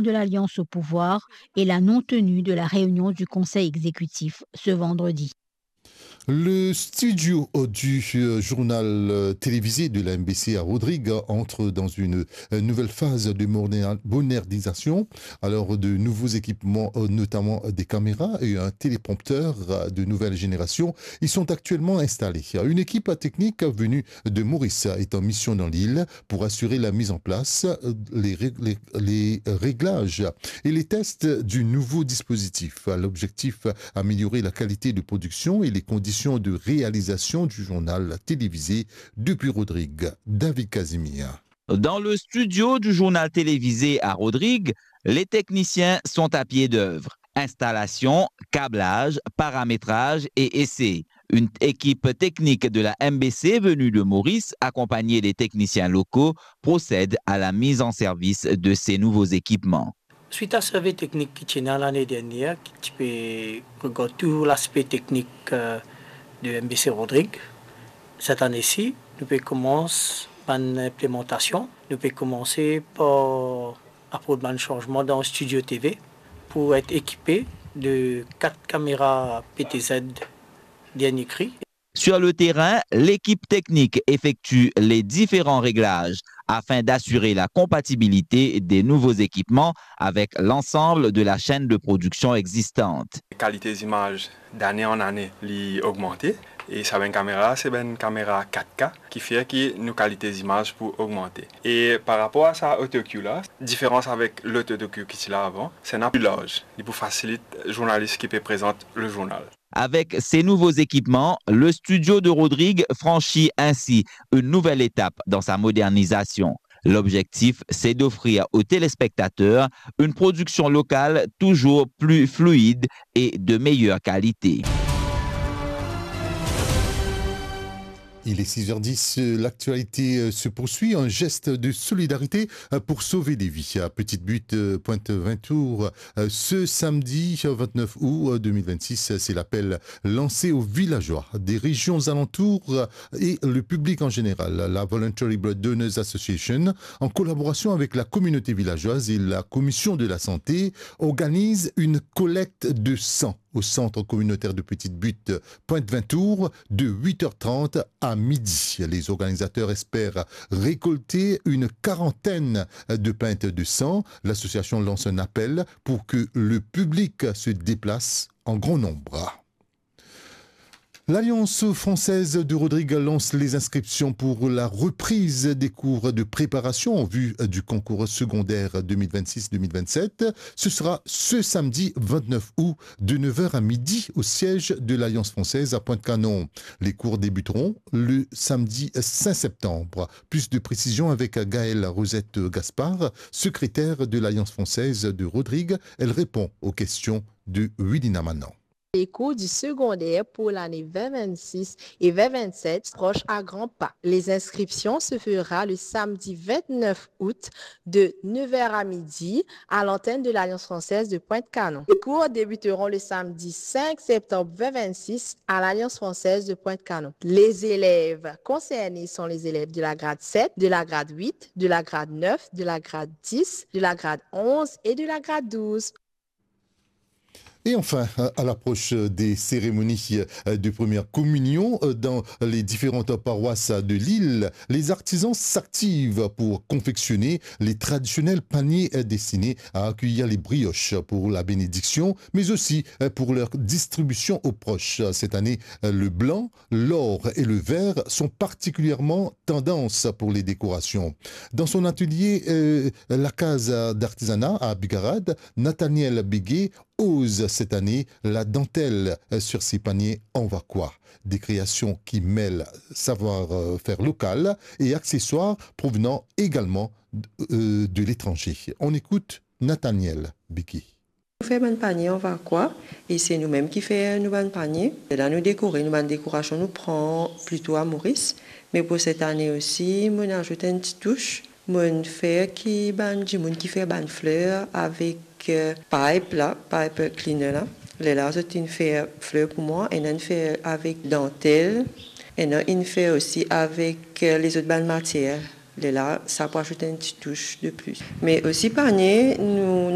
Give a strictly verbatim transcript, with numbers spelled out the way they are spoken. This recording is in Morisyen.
de l'Alliance au pouvoir et la non-tenue de la réunion du Conseil exécutif ce vendredi. Le studio, euh, du, euh, journal, euh, télévisé de la M B C à Rodrigues entre dans une, euh, nouvelle phase de moderna-, modernisation. Alors, de nouveaux équipements, euh, notamment des caméras et un téléprompteur, euh, de nouvelle génération, ils sont actuellement installés. Une équipe technique venue de Maurice est en mission dans l'île pour assurer la mise en place, euh, les ré-, les, les réglages et les tests du nouveau dispositif. L'objectif, améliorer la qualité de production et les conditions de réalisation du journal télévisé. Depuis Rodrigues, David Casimir. Dans le studio du journal télévisé à Rodrigues, les techniciens sont à pied d'œuvre. Installation, câblage, paramétrage et essai. Une équipe technique de la M B C venue de Maurice, accompagnée des techniciens locaux, procède à la mise en service de ces nouveaux équipements. Suit a survey teknik ki ti ena lane dernier, ki ti pe regard tou laspe teknik, euh, de M B C Rodrigues, set ane si, nou pe koumans bann inplemantasion. Nou pe koumanse par aport bann sanzman dan studio T V pou et ekipe de kat kamera P T Z dernier kri. Sur le terrain, l'équipe technique effectue les différents réglages afin d'assurer la compatibilité des nouveaux équipements avec l'ensemble de la chaîne de production existante. Kalite zimaz dane an ane, li ogmante, e sa bann kamera, se bann kamera kat K, ki fer ki nou kalite zimaz pou ogmante. E par rapor a sa auto-cue la, diferans avek lot auto-cue ki ti la avan, se ena pli larz, li pou fasilit zournalis ki pe prezant le zournal. Avec ces nouveaux équipements, le studio de Rodrigues franchit ainsi une nouvelle étape dans sa modernisation. L'objectif, c'est d'offrir aux téléspectateurs une production locale toujours plus fluide et de meilleure qualité. Il est six heures dix, euh, l'actualité, euh, se poursuit. Un geste de solidarité, euh, pour sauver des vies. À Petite Butte, euh, Pointe Vintour, euh, ce samedi, euh, vingt-neuf août, euh, deux mille vingt-six, euh, c'est l'appel lancé aux villageois des régions alentours, euh, et le public en général. La Voluntary Blood Donors Association, en collaboration avec la communauté villageoise et la commission de la santé, organise une collecte de sang au centre communautaire de Petite Butte, Pointe Vintour, de huit heures trente à midi. Les organisateurs espèrent récolter une quarantaine de pintes de sang. L'association lance un appel pour que le public se déplace en grand nombre. L'Alliance française de Rodrigues lance les inscriptions pour la reprise des cours de préparation en vue du concours secondaire deux mille vingt-six deux mille vingt-sept. Ce sera ce samedi vingt-neuf août de neuf heures à midi au siège de l'Alliance française à Pointe-Canon. Les cours débuteront le samedi cinq septembre. Plus de précisions avec Gaëlle Rosette Gaspard, secrétaire de l'Alliance française de Rodrigues. Elle répond aux questions de Wilina Manon. Les cours du secondaire pour l'année vingt vingt-six et vingt vingt-sept approchent à grands pas. Les inscriptions se fera le samedi vingt-neuf août de neuf heures à midi à l'antenne de l'Alliance française de Pointe-Canon. Les cours débuteront le samedi cinq septembre vingt vingt-six à l'Alliance française de Pointe-Canon. Les élèves concernés sont les élèves de la grade sept, de la grade huit, de la grade neuf, de la grade dix, de la grade onze et de la grade douze. Et enfin, à l'approche des cérémonies de première communion dans les différentes paroisses de l'île, les artisans s'activent pour confectionner les traditionnels paniers destinés à accueillir les brioches pour la bénédiction, mais aussi pour leur distribution aux proches. Cette année, le blanc, l'or et le vert sont particulièrement tendance pour les décorations. Dans son atelier, euh, la Case d'Artisanat à Bigarad, Nathaniel Béguet ose cette année la dentelle, euh, sur ses paniers en vacois. Des créations qui mêlent savoir, euh, faire local et accessoires provenant également, euh, de l'étranger. On écoute Nathaniel Béguet. Nou fer bann panie an vacois, e se nou mem ki fer nou bann panie. La nou dekore, nou bann dekorasion nou pran plito a Moris, me pou set ane osi, mo'nn azout enn ti tous. Mo'nn fer ki bann dimoun ki fer bann fler avek, euh, pipe la, pipe cleaner la. Lerla zot inn fer fler pou mwa, ena inn fer avek dantel, ena inn fer osi avek, euh, lezot bann matier. Lerla sa pou azout enn ti tous de plis. Me osi par ane nou